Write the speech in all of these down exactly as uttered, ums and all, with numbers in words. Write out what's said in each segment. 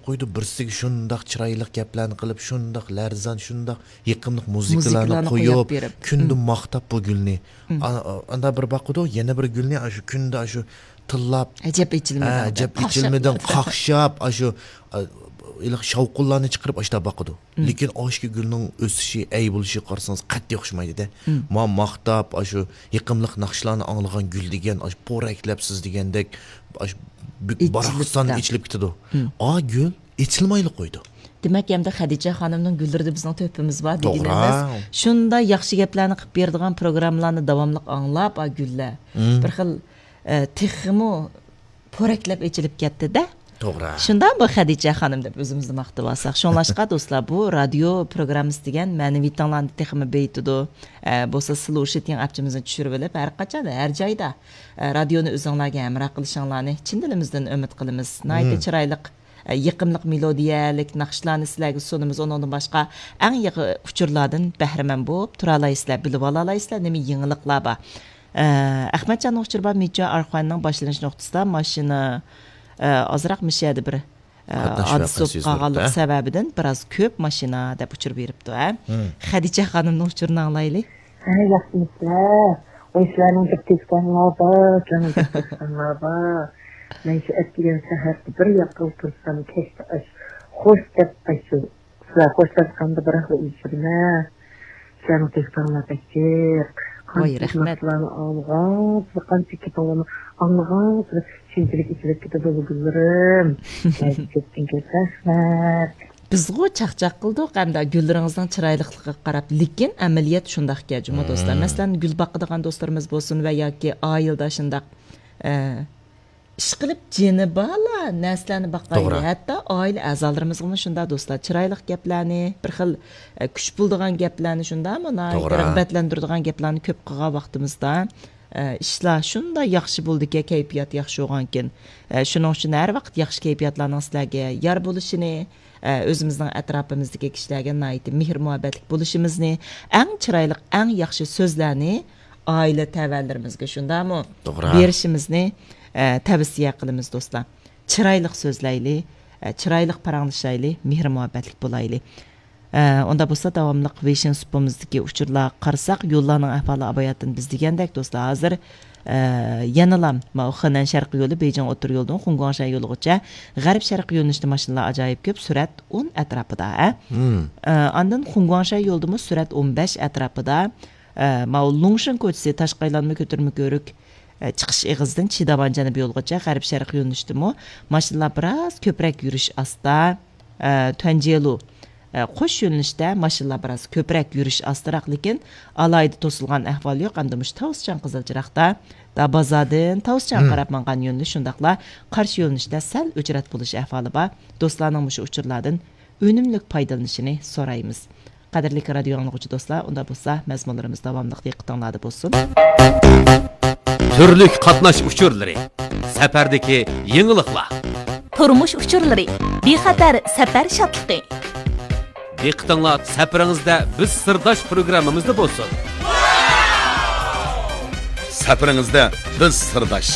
قويىدۇ، بىرسىگە شۇنداق چىرايلىق گەپلەرنى قىلىپ، شۇنداق لەرزان، شۇنداق يېقىملىق مۇزىكىلارنى مۇزىكىلارنى قويۇپ قويۇپ، بېرىپ. كۈندە ماختاپ بۇ گۈلنى. ئا-، ئا-، ئاندا بىر باقىدۇ، يەنە بىر گۈلنى ئاشۇ كۈندە ئاشۇ تىللاپ، ئەجەب ئېچىلمىدىڭ ھە، دەپ، ئەجەب قاقشاپ ئېچىلمىدىڭ، قاقشاپ، ئاشۇ، ئا، ھېلىقى شاۋقۇنلارنى چىقىرىپ ئاشتا باقىدۇ. لېكىن ئاشۇ گۈلنىڭ ئۆسۈشى، ئەي بولۇشىغا قارىسىڭىز قەتئىي ئوخشىمايدۇ-دە. ما ماختاپ، ئاشۇ يېقىملىق ناخشىلارنى ئاڭلىغان گۈل دېگەن، ئاشۇ پورەكلەپ سىز دېگەندەك، ئاشۇ بۈك-، باراقسان ئېچىلىپ كېتىدۇ. ئا گۈل ئېچىلمايلا قويىدۇ. دېمەك، ئەمدى خەدىچە خانىمنىڭ گۈللىرىدە بىزنىڭ تۆھپىمىز بار دېگىنىمىز. توغرا. شۇنداق ياخشى گەپلەرنى قىلىپ بېرىدىغان پروگراممىلارنى داۋاملىق ئاڭلاپ، ئا گۈللەر. بىر خىل، ئە، تېخىمۇ پورەكلەپ ئېچىلىپ كەتتى-دە. توغرا. شۇنداقمۇ خەدىچە خانىم دەپ ئۆزىمىزنى ماختىۋالساق. شۇڭلاشقا دوستلار، بۇ رادىيو پروگراممىسى دېگەن مەنىۋىيىتىڭلارنى تېخىمۇ بېيىتىدۇ. ئە، بولسا سلوشىتىڭ ئاپچىمىزنى چۈشۈرۈۋېلىپ، ھەر قاچان، ھەر جايدا، ئە، رادىيونى ئۆزۈڭلارگە ھەمراھ قىلىشىڭلارنى چىن دىلىمىزدىن ئۈمىد قىلىمىز. ناھايىتى چىرايلىق، ئە، يېقىملىق مېلودىيەلىك ناخشىلارنى سىلەرگە سۇنىمىز. ئۇنىڭدىن باشقا ئەڭ يېڭى ئۇچۇرلاردىن بەھرىمەن بولۇپ تۇرالايسىلەر، بىلىۋالالايسىلەر، نېمە يېڭىلىقلار بار. ئە، ئەخمەتجاننىڭ ئۇچۇرى بار، مىچا ئارخۇەننىڭ باشلىنىش نۇقتىسىدا ماشىنا، ئە، ئازراق مىشەدە بىر، ئە، قاتناش ھادىسە ۋەقەسى بولۇپ يۈز قالغانلىقى بېرىپتۇ. سەۋەبىدىن بىراز كۆپ ماشىنا دەپ ئۇچۇر بېرىپتۇ، ھە. خەدىچە خانىمنىڭ ئۇچۇرىنى ئاڭلايلى. ھە، ياخشىمۇسىلەر؟ ۋاي، سىلەرنىڭ دىققىتىڭلار بار، جانىم دىققىتىڭلار بار. مەن شۇ ئەتىگەن سەھەردە بىر ياققا ئولتۇرسام، كەچتە ئاش خوش دەپ ئاشۇ سىلەر خوشلاشقاندا بىراقلا ئېچىشىدىمەن. سىلەرنىڭ تۆھپەڭلار بەك جىق. ۋاي، قانچە رەھمەت. ناخشىلارنى ئاڭلىغانسېرى، قانچە گېپىڭلارنى ئاڭلىغانسېرى شۇنچىلىك ئېچىلىپ كېتىدۇ، گۈللىرىم. سىلەرگە كۆپتىن كۆپ رەھمەت. بىزغۇ چاقچاق قىلدۇق ئەمدى گۈللىرىڭىزنىڭ چىرايلىقلىقىغا قاراپ، لېكىن ئەمەلىيەت شۇنداقكەن جۇمۇ دوستلار. مەسىلەن، گۈل باقىدىغان دوستلىرىمىز بولسۇن ۋە ياكى ئائىلىدە شۇنداق، ئە، ئىشقىلىپ جېنى بارلا نەرسىلەرنى باقايلى. توغرا. ھەتتا ئائىلە ئەزالىرىمىزغىمۇ شۇنداق دوستلار، چىرايلىق گەپلەرنى، بىر خىل، ئە، كۈچ بولىدىغان گەپلەرنى شۇنداقمۇ ناھايىتى توغرا. رىغبەتلەندۈرىدىغان گەپلەرنى كۆپ قىلغان ۋاقتىمىزدا، ئە، ئىشلار شۇنداق ياخشى بولىدىكەن، كەيپىيات ياخشى بولغانكىن. ئە، شۇنىڭ ئۈچۈن ھەر ۋاقىت ياخشى كەيپىياتلارنىڭ سىلەرگە يار بولۇشىنى، ئە، ئۆزىمىزنىڭ ئەتراپىمىزدىكى كىشىلەرگە ناھايىتى مېھىر-مۇھەببەتلىك بولۇشىمىزنى، ئەڭ چىرايلىق، ئەڭ ياخشى سۆزلەرنى ئائىلە تەۋەلىرىمىزگە شۇنداقمۇ توغرا. بېرىشىمىزنى، ئە، تەۋسىيە قىلىمىز دوستلار. چىرايلىق سۆزلەيلى، ئە، چىرايلىق پاراڭلىشايلى، مېھىر-مۇھەببەتلىك بولايلى. ئە، ئۇنداق بولسا داۋاملىق ۋېيشىن سۇپىمىزدىكى ئۇچۇرلارغا قارىساق، يوللارنىڭ ئەھۋالى ئاۋاياتتىن بىز دېگەندەك دوستلار ھازىر، ئە، يەنىلا ماۋۇ خېنەن شەرقىي يولى بېيجىڭ ئوتتۇرا يولىدىن خۇڭگۇاڭشەن يولىغىچە غەرب شەرقىي يۆنىلىشتە ماشىنىلار ئاجايىپ كۆپ، سۈرئەت ئون ئەتراپىدا، ھە؟ ئە، ئاندىن خۇڭگۇاڭشەن يولىدىمۇ سۈرئەت ئون بەش ئەتراپىدا، ئە، ماۋۇ لۇڭشىن كوچىسى تاشقى ئايلانما كۆتۈرمە كۆۋرۈك، ئە، چىقىش ئېغىزىدىن چىداۋان جەنۇبىي يولغىچە غەرب شەرقىي يۆنىلىشتىمۇ ماشىنىلار بىراز كۆپرەك يۈرۈش ئاستا. ئە، تۈەنجيېلۇ، ئە، قوش يۆنىلىشتە ماشىنىلار بىراز كۆپرەك يۈرۈش ئاستىراق، لېكىن ئالاھىدە توسۇلغان ئەھۋال يوق. ئەمدى مۇشۇ تاۋۇسچاڭ قىزىل چىراغدا دابازادىن تاۋۇسچاڭغا قاراپ ماڭغان يۆنىلىش، شۇنداقلا قارشى يۆنىلىشتە سەل ئۆچرەت بولۇش ئەھۋالى بار. دوستلارنىڭ مۇشۇ ئۇچۇرلاردىن ئۈنۈملۈك پايدىلىنىشىنى سورايمىز. قەدىرلىك رادىيو ئاڭلىغۇچى دوستلار، ئۇنداق بولسا مەزمۇنلىرىمىز داۋاملىق دىققىتىڭلاردا بولسۇن. تۈرلۈك قاتناش ئۇچۇرلىرى، سەپەردىكى يېڭىلىقلار. تۇرمۇش ئۇچۇرلىرى، بىخەتەر سەپەر شادلىقى. دىققىتىڭلار سەپىرىڭىزدە بىز سىرداش پروگراممىمىزدا بولسۇن. سەپىرىڭىزدە بىز سىرداش.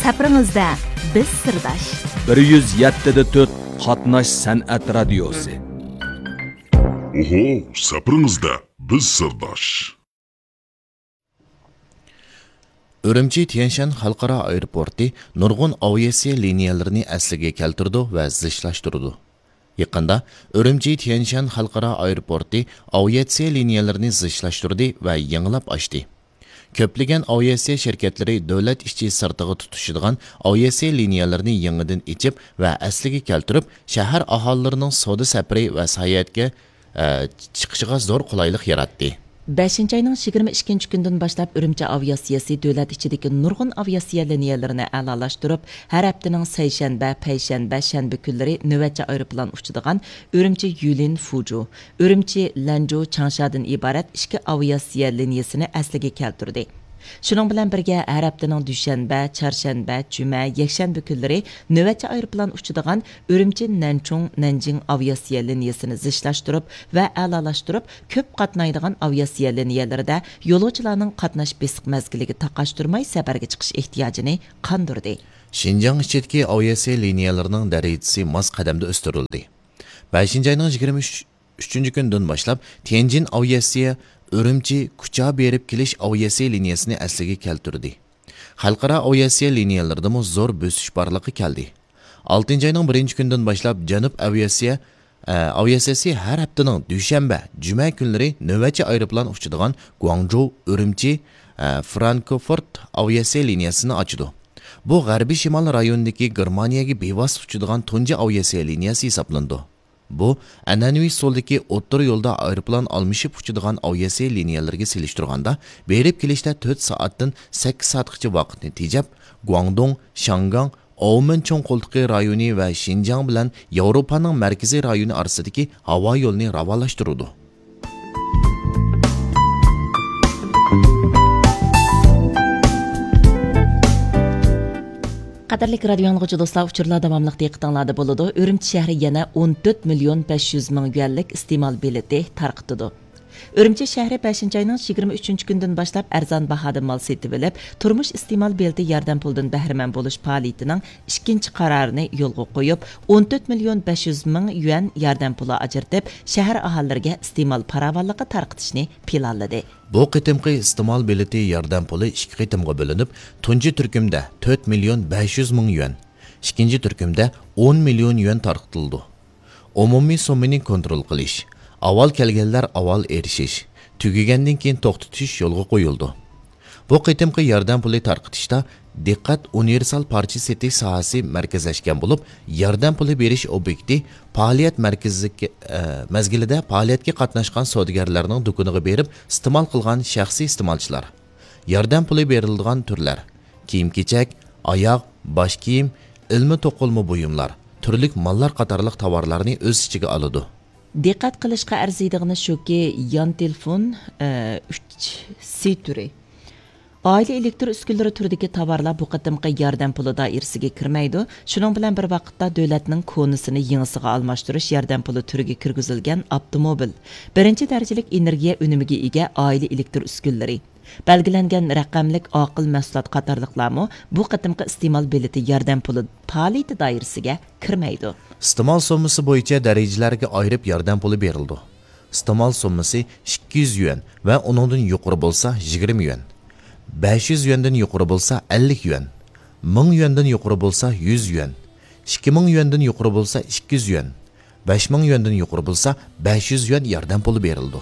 سەپىرىڭىزدە بىز سىرداش. بىر يۈز يەتتە دە تۆت قاتناش سەنئەت رادىيوسى. ئوھو، سەپىرىڭىزدە بىز سىرداش. ئۈرۈمچى تيەنشەن خەلقئارا ئايروپورتى نۇرغۇن ئاۋىئاتسىيە لىنىيەلىرىنى ئەسلىگە كەلتۈرىدۇ ۋە زىچلاشتۇرىدۇ. يېقىندا ئۈرۈمچى تيەنشەن خەلقئارا ئايروپورتى ئاۋىئاتسىيە لىنىيەلىرىنى زىچلاشتۇردى ۋە يېڭىلاپ ئاچتى. كۆپلىگەن ئاۋىئاتسىيە شىركەتلىرى دۆلەت ئىچى سىرتىغا تۇتىشىدىغان ئاۋىئاتسىيە لىنىيەلىرىنى يېڭىدىن ئېچىپ ۋە ئەسلىگە كەلتۈرۈپ، شەھەر ئاھالىلىرىنىڭ سودا سەپىرى ۋە ساياھەتكە، ئە، چىقىشىغا زور قولايلىق ياراتتى. بەشىنچى ئاينىڭ يىگىرمە ئىككىنچى كۈنىدىن باشلاپ ئۈرۈمچى ئاۋىئاتسىيەسى دۆلەت ئىچىدىكى نۇرغۇن ئاۋىئاتسىيە لىنىيەلىرىنى ئەلالاشتۇرۇپ، ھەر ھەپتىنىڭ سەيشەنبە، پەيشەنبە، شەنبە كۈنلىرى نۆۋەتچى ئايروپىلان ئۇچىدىغان ئۈرۈمچى يۈلىن فۇجۇ، ئۈرۈمچى لەنجۇ چاڭشادىن ئىبارەت ئىككى ئاۋىئاتسىيە لىنىيەسىنى ئەسلىگە كەلتۈردى. شۇنىڭ بىلەن بىرگە، ھەر ھەپتىنىڭ دۈشەنبە، چارشەنبە، جۈمە، يەكشەنبە كۈنلىرى نۆۋەتچى ئايروپىلان ئۇچىدىغان ئۈرۈمچى نەنچۇڭ نەنجىڭ ئاۋىئاتسىيە لىنىيەسىنى زىچلاشتۇرۇپ ۋە ئەلالاشتۇرۇپ، كۆپ قاتنايدىغان ئاۋىئاتسىيە لىنىيەلىرىدە يولۇچىلارنىڭ قاتناش بېسىق مەزگىلىگە تاقاشتۇرماي سەپەرگە چىقىش ئېھتىياجىنى قاندۇردى. شىنجاڭ ئىچىدىكى ئاۋىئاتسىيە لىنىيەلىرىنىڭ دەرىجىسى ماس قەدەمدە ئۆستۈرۈلدى. بەشىنچى ئاينىڭ يىگىرمە ئۈچىنچى كۈنىدىن باشلاپ تيەنجىن ئاۋىئاتسىيە ئۈرۈمچى، كۇچا بېرىپ كېلىش ئاۋىئاتسىيە لىنىيەسىنى ئەسلىگە كەلتۈردى. خەلقئارا ئاۋىئاتسىيە لىنىيەلىرىدىمۇ زور بۆسۈش بارلىققا كەلدى. ئالتىنچى ئاينىڭ بىرىنچى كۈنىدىن باشلاپ جەنۇب ئاۋىئاتسىيە، ئە، ئاۋىئاتسىيەسى ھەر ھەپتىنىڭ دۈشەنبە، جۈمە كۈنلىرى نۆۋەتچى ئايروپىلان ئۇچىدىغان گۇاڭجۇ، ئۈرۈمچى، ئە، فرانكفورت ئاۋىئاتسىيە لىنىيەسىنى ئاچىدۇ. بۇ غەربىي شىمال رايونىدىكى گېرمانىيەگە بىۋاسىتە ئۇچىدىغان تۇنجى ئاۋىئاتسىيە لىنىيەسى ھېسابلىنىدۇ. بۇ ئەنئەنىۋى ئۇسۇلدىكى ئوتتۇرا يولدا ئايروپىلان ئالمىشىپ ئۇچىدىغان ئاۋىئاتسىيە لىنىيەلىرىگە سېلىشتۇرغاندا، بېرىپ كېلىشتە تۆت سائەتتىن سەككىز سائەتقىچە ۋاقىتنى تېجەپ، گۇاڭدۇڭ، شياڭگاڭ، ئاۋمېن چوڭ قولتۇقى رايونى ۋە شىنجاڭ بىلەن ياۋروپانىڭ مەركىزىي رايونى ئارىسىدىكى ھاۋا يولىنى راۋانلاشتۇرىدۇ. قەدىرلىك رادىيو ئاڭلىغۇچى دوستلار، ئۇچۇرلار داۋاملىق دىققىتىڭلاردا بولىدۇ. ئۈرۈمچى شەھىرى يەنە ئون تۆت مىليون بەش يۈز مىڭ يۈەنلىك ئىستېمال بېلىتى تارقىتىدۇ. ئۈرۈمچى شەھىرى بەشىنچى ئاينىڭ يىگىرمە ئۈچىنچى كۈنىدىن باشلاپ ئەرزان باھادا مال سېتىۋېلىپ، تۇرمۇش ئىستېمال بېلىتى ياردەم پۇلىدىن بەھرىمەن بولۇش پائالىيىتىنىڭ ئىككىنچى قارارىنى يولغا قويۇپ، ئون تۆت مىليون بەش يۈز مىڭ يۈەن ياردەم پۇلى ئاجرىتىپ، شەھەر ئاھالىلىرىگە ئىستېمال پاراۋانلىقى تارقىتىشنى پىلانلىدى. بۇ قېتىمقى ئىستېمال بېلىتى ياردەم پۇلى ئىككى قېتىمغا بۆلۈنۈپ، تۇنجى تۈركۈمدە تۆت مىليون بەش يۈز مىڭ يۈەن، ئىككىنچى تۈركۈمدە ئون مىليون يۈەن تارقىتىلىدۇ. ئومۇمىي سوممىنى كونترول قىلىش، ئاۋۋال كەلگەنلەر ئاۋۋال ئېرىشىش، تۈگىگەندىن كېيىن توختىتىش يولغا قويۇلىدۇ. بۇ قېتىمقى ياردەم پۇلى تارقىتىشتا دىققەت ئۇنىۋېرسال پارچە سېتىش ساھەسى مەركەزلەشكەن بولۇپ، ياردەم پۇلى بېرىش ئوبيېكتى پائالىيەت مەركىزىدىكى، ئە، مەزگىلىدە پائالىيەتكە قاتناشقان سودىگەرلەرنىڭ دۇكىنىغا بېرىپ ئىستېمال قىلغان شەخسىي ئىستېمالچىلار. ياردەم پۇلى بېرىلىدىغان تۈرلەر: كىيىم-كېچەك، ئاياغ، باش كىيىم، ئىلمىي توقۇلما بۇيۇملار، تۈرلۈك ماللار قاتارلىق تاۋارلارنى ئۆز ئىچىگە ئالىدۇ. دىققەت قىلىشقا ئەرزىيدىغىنى شۇكى، يان تېلېفون، ئە، ئۈچ سى تۈرى، ئائىلە ئېلېكتر ئۈسكۈنىلىرى تۈرىدىكى تاۋارلار بۇ قېتىمقى ياردەم پۇلى دائىرىسىگە كىرمەيدۇ. شۇنىڭ بىلەن بىر ۋاقىتتا، دۆلەتنىڭ كونىسىنى يېڭىسىغا ئالماشتۇرۇش ياردەم پۇلى تۈرىگە كىرگۈزۈلگەن ئاپتوموبىل، بىرىنچى دەرىجىلىك ئېنېرگىيە ئۈنۈمىگە ئىگە ئائىلە ئېلېكتر ئۈسكۈنىلىرى، بەلگىلەنگەن رەقەملىك ئاقىل مەھسۇلات قاتارلىقلارمۇ بۇ قېتىمقى ئىستېمال بېلىتى ياردەم پۇلى پائالىيىتى دائىرىسىگە كىرمەيدۇ. ئىستېمال سوممىسى بويىچە دەرىجىلەرگە ئايرىپ ياردەم پۇلى بېرىلىدۇ. ئىستېمال سوممىسى ئىككى يۈز يۈەن ۋە ئۇنىڭدىن يۇقىرى بولسا يىگىرمە يۈەن، بەش يۈز يۈەندىن يۇقىرى بولسا ئەللىك يۈەن، مىڭ يۈەندىن يۇقىرى بولسا يۈز يۈەن، ئىككى مىڭ يۈەندىن يۇقىرى بولسا ئىككى يۈەن، بەش مىڭ يۈەندىن يۇقىرى بولسا بەش يۈز يۈەن ياردەم پۇلى بېرىلىدۇ.